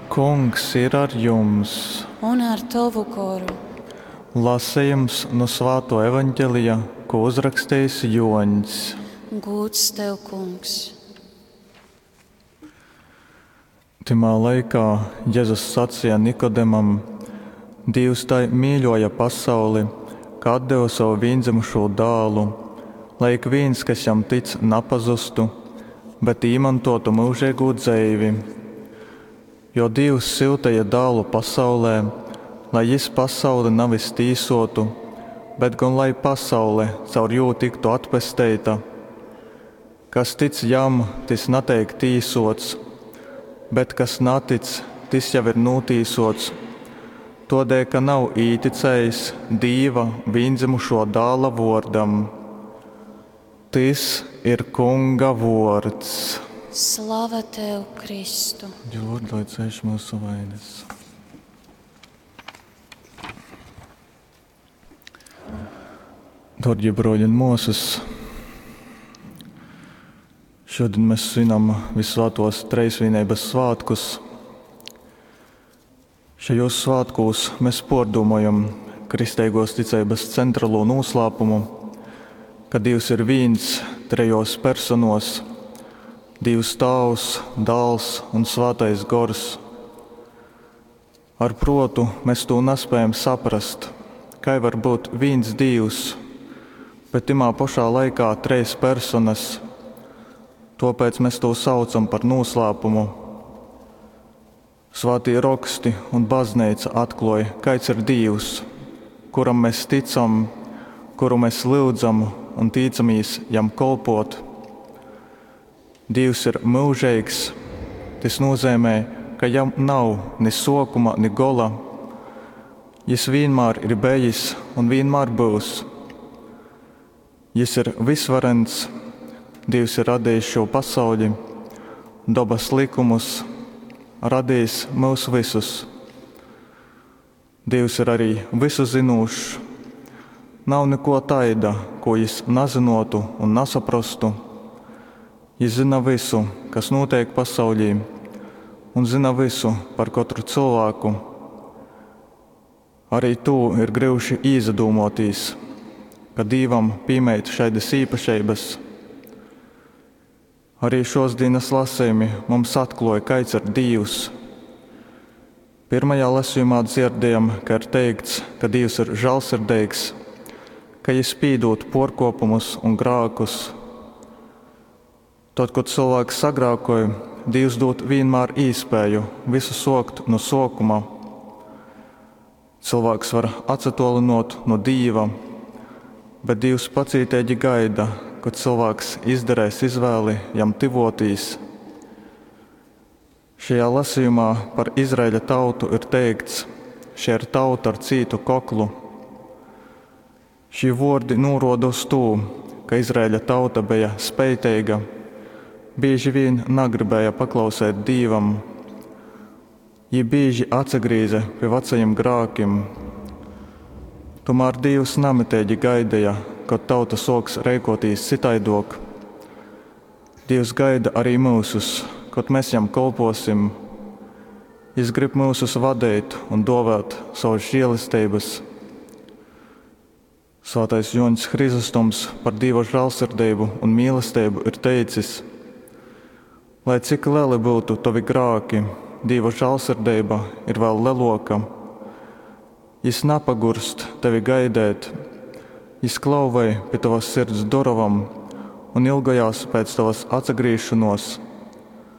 Kungs ir ar jums! Un ar tovu goru. Lasejums nu Svātuo Evangelija, ko uzrakstījis Joņs. Gūds tev, Kungs! Tymā laikā Jezus saceja Nikodemam: Dīvs tai mīļōja pasauli, ka atdeve sovu vīndzymušū Dālu, lai ikvīns, kas jam tic, napazustu, bet īmontōtu myužeigū dzeivi. Jo Dīvs syuteja Dālu pasaulē, lai jys pasauli navis tīsōtu, bet gon lai pasaule caur jū tyktu atpesteita. Kas tic jam, tys nateik tīsōts, bet kas natic, tys jau ir nūtīsōts, tōdēļ ka nav īticējis Dīva vīndzymušō Dāla vōrdam. Tys ir Kunga vōrds. Slava tev, Kristu! Dīva vōrdu, lai cēš myusu vainas. Dārgie broļi un māsas, šodien mēs svinam Visvētos Treisvienības svētkus. Šajos svētkos mēs pārdomājam kristīgos ticības centrālo noslēpumu, ka Dievs ir viens trejos personos - Dievs Tāvs, Dāls un Svētais Gors. Ar protu mēs to nespējam saprast, kā var būt viens Dievs, bet timā pašā laikā treis personas. Tāpēc mēs to saucam par noslēpumu. Svētie raksti un baznīca atklāja, kāds ir Dievs, kuram mēs ticam, kuru mēs lūdzam un ticamies jam kolpot. Dievs ir mūžīgs. Tas nozīmē, ka jam nav ni sākuma, ni gola. Jis vienmēr ir bijis un vienmēr būs. Jis ir visvarens. Dievs ir radījis šo pasauli, dabas likumus, radījis mūs visus. Dievs ir arī visu zinošs. Nav neko taida, ko jis nezinotu un nesaprastu. Jis zina visu, kas notiek pasaulī, un zina visu par katru cilvēku. Arī tu ir grūti izadomāties, ka Dievam piemīt šādas īpašības. Arī šos dienas lasījumi mums atklāja, kāds ir Dievs. Pirmajā lasījumā dzirdējam, ka ir teikts, ka Dievs ir žēlsirdīgs, ka Jis pīdot porkopumus un grākus. Tad, kad cilvēks sagrākoja, Dievs dod vienmēr īspēju visu sokt no sākuma. Cilvēks var atsatolinot no Dieva, bet Dievs pacītīgi gaida, kad cilvēks izdarēs izvēli jam tivotīs. Šajā lasījumā par Izraēļa tautu ir teikts, šie ir tauta ar cītu koklu. Šie vārdi norāda uz to, ka Izraēļa tauta bija spētīga, bieži vien negribēja paklausēt Dievam. Viņi bieži atsagrīza pie vecajiem grākiem. Tomēr Dievs namitīgi gaidīja, kad tauta soks rēkotīs citaidok. Dievs gaida arī mūsus, kad mēs jam kolposim. Jis grib mūsus vadīt un dovēt savas žēlestības. Svētais Joņs Hrizostoms par Dieva žēlsirdību un mīlestību ir teicis: Lai cik lieli būtu tavi grāki, Dieva žēlsirdība ir vēl lielāka. Jis napagurst tevi gaidēt, jis klauvē pie tavas sirds dorovam un ilgojās pēc tavas atsagriešanos.